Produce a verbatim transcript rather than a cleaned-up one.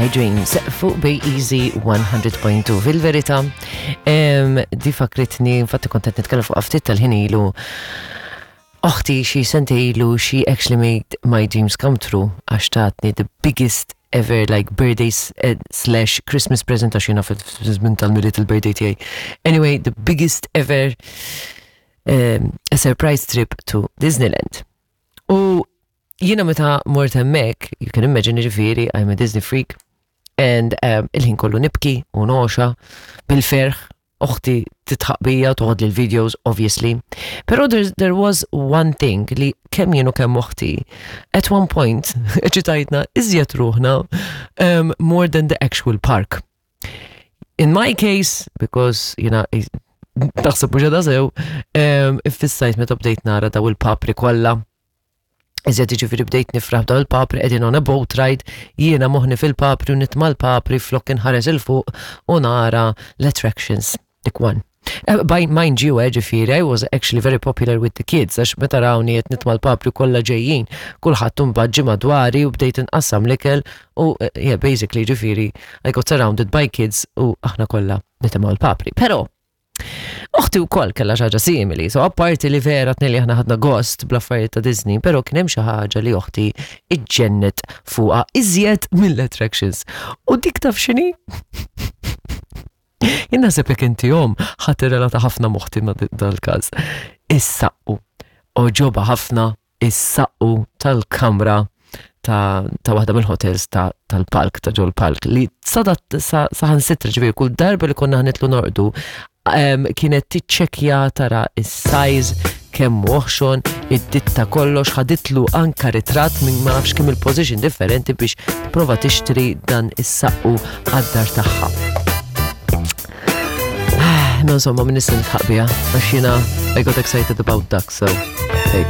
My Dreams fuq Bay Easy one hundred point two. Fil-verità, em, di fakritni, infatti kont qed nitkellem fuq ftit tal-ħin ilu. Oħti xi sentejn ilu, she actually made my dreams come true għax tatni the biggest ever like birthday eh, slash Christmas present, għax jiena fil-żmien tal-Milied il-birthday tiegħi. Anyway, the biggest ever um, a surprise trip to Disneyland. U jiena meta mort hemmhekk, you can imagine, ġifieri, I'm a Disney freak, and um, il-ħin kollu nibki u noxa bil-ferħ, oħti tidħaq bija, toħodli l-videos, obviously. Pero there, there was one thing li kemm jien u kemm oħti, at one point, eċitajtna iżjed ruħna um, more than the actual park. In my case, because, you know, taħseb mhux sew, um, iffissajt meta bdejt nara daw il-papri kollha. Iżjed, ġifieri, bdejt nifraħ daw il-papri qegħdin on a boat ride, jiena moħni fil-papri u nitma' l-papri flok inħares 'il fuq u nara l-attractions. Dik one. Uh, by mind you, eh, ġifieri, I was actually very popular with the kids, għax meta rawni qed nitma' l-papri kollha ġejjin, kulħadd imbagħad ġie madwari u bdejt inqassam l-ikel u eh, yeah, basically, ġifieri, I got surrounded by kids u aħna kollha nitimgħu l-papri. Però, oħti wkoll kellha xi ħaġa simili, so apparti li vera tnejn li aħna ħadna gost bl-affarijiet ta' Disney, però kien hemm xi ħaġa li oħti iġġennet fuqha iżjed mill-attractions. U dik taf x'inhi? Jien naħseb jekk inti omm ħa tirrelata ħafna m'oħti ma' dal-każ. Is-saqqu. Għoġobha ħafna is-saqqu tal-kamra ta' ta' waħda mill-hotels ta' tal-park, ta' ġol park, li sadat saħansitra, ġifieri, kull darba li konna ħa nitilgħu norqdu em, kienet tiċċekja tara is-size, kemm oħxon, id-ditta, kollox, ħaditlu anka ritratt minn ma nafx kemm il-position differenti biex prova tixtri dan is-saqqu għad-dar tagħha. No, insomma, minn nista nidħaq biha, għax jiena I got excited about ducks, so hey.